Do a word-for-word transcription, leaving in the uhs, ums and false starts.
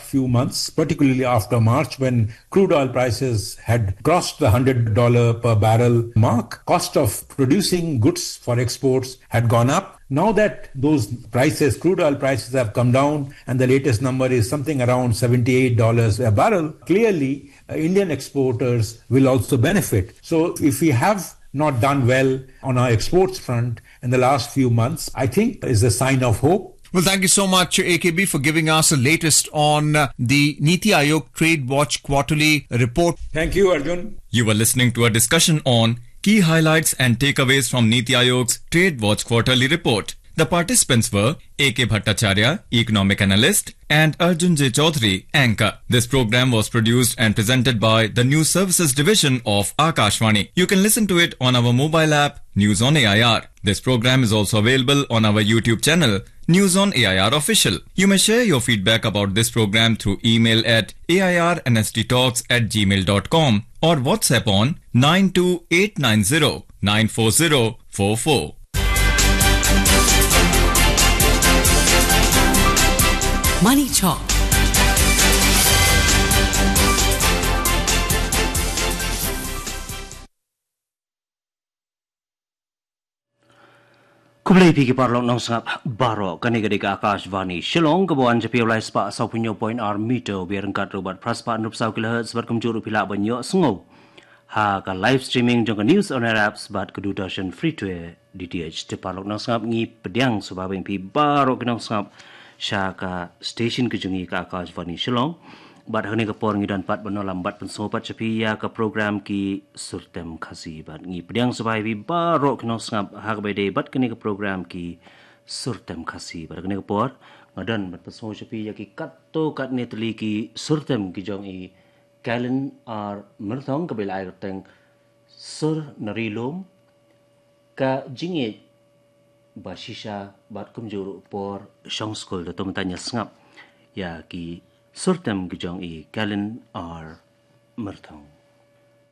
few months, particularly after March, when crude oil prices had crossed the hundred dollar per barrel mark, cost of producing goods for exports had gone up. Now that those prices, crude oil prices, have come down, and the latest number is something around seventy-eight dollars a barrel, clearly, uh, Indian exporters will also benefit. So if we have not done well on our exports front in the last few months, I think is a sign of hope. Well, thank you so much, A K B, for giving us the latest on, uh, the Niti Aayog Trade Watch quarterly report. Thank you, Arjun. You were listening to a discussion on key highlights and takeaways from Niti Aayog's Trade Watch quarterly report. The participants were A K Bhattacharya, economic analyst, and Arjun J Chaudhary, anchor. This program was produced and presented by the News Services Division of Akashvani. You can listen to it on our mobile app, News on A I R. This program is also available on our YouTube channel, News on A I R Official. You may share your feedback about this program through email at A I R N S T talks at gmail dot com or WhatsApp on nine two eight nine zero nine four zero four four. Money Talk. Khublei phi ki paralok nongsngap baroh, kane ka dei ka Akashvani Shillong, kaba wan sha phi ha u lai spah saw phew hynñiew point ar meter wave ryngkat ruh bad phra spah hynriew phew saw kilohertz, bad kumjuh ruh phi lah ban ïohsngew ha ka live streaming jong ka News on Air apps bad ka Doordarshan Free to Air D T H. Te paralok nongsngap, ngi pdiang sngewbha ïa phi baroh ki nongsngap sha ka station ka jong ngi ka Akashvani Shillong. Bad ha kane ka por ngi don pat ban ïalam bad pynsngew pat sha phi ïa ka program Ki Sur Tem Khasi. Bad ngi pdiang sngewbha ïa phi baroh ki nongsngap ha kaba ïadei bad kane ka program Ki Sur Tem Khasi. Bad ha kane ka por nga don ban pynsngew sha phi ïa ki katto katne tylli ki sur tem ki jong i Kalen R Myrthong, kaba la ai kyrteng Sur Nari Lum, Ka Jingïeit Bashisha, bad kumjuh ruh Por Shong Skul. Te to mynta ngin ïa sngap ïa ki sur tem ki jong i Kalen R Myrthong.